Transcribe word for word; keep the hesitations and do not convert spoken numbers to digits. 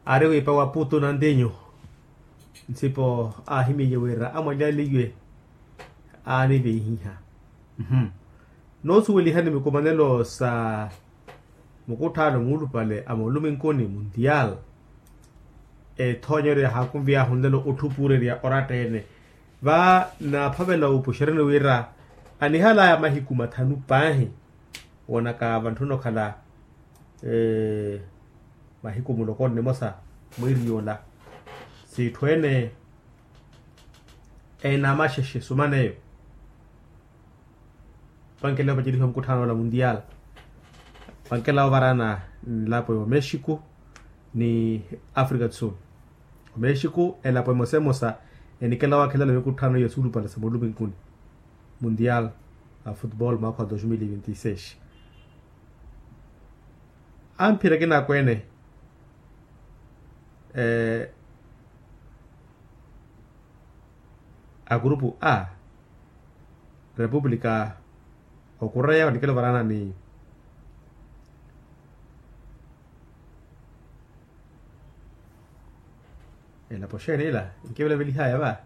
Aari wiipa wa putu na ntinyu. Nsipo aahimyeiye wira amwalyaliwe aanivihiha. Noosuweliha ni mikumanelo sa mukutthaano muulupale a mooluminkuni mundial, ethoonyeryo yahaakunviy'ahu nlelo otthupuurerya oratta-ene. Va naaphavela wuupuxeryani wira anihalaya mahiku mathanu paahi. Woonaka vantthuna okhala mahiku mulokoni nimosa mwiiri yoola, s'itthu ene eenamaxexe sumaneyo. Vankela vapacerihiwa mukutthaano-ola mundial. Vankela ovarana nlapo ya omexico ni africa do sul. Omexico elapo emosa emosa enikela wakhela mikutthaano ya suulupale sa mooluminkuni mundial a futebol mwaakha wa dos mil e vinti seis. Amphira akina akweene a kurupu a republika okureya onikela ovarana ni elapo xeeni ila? Nkivelavelihaya va.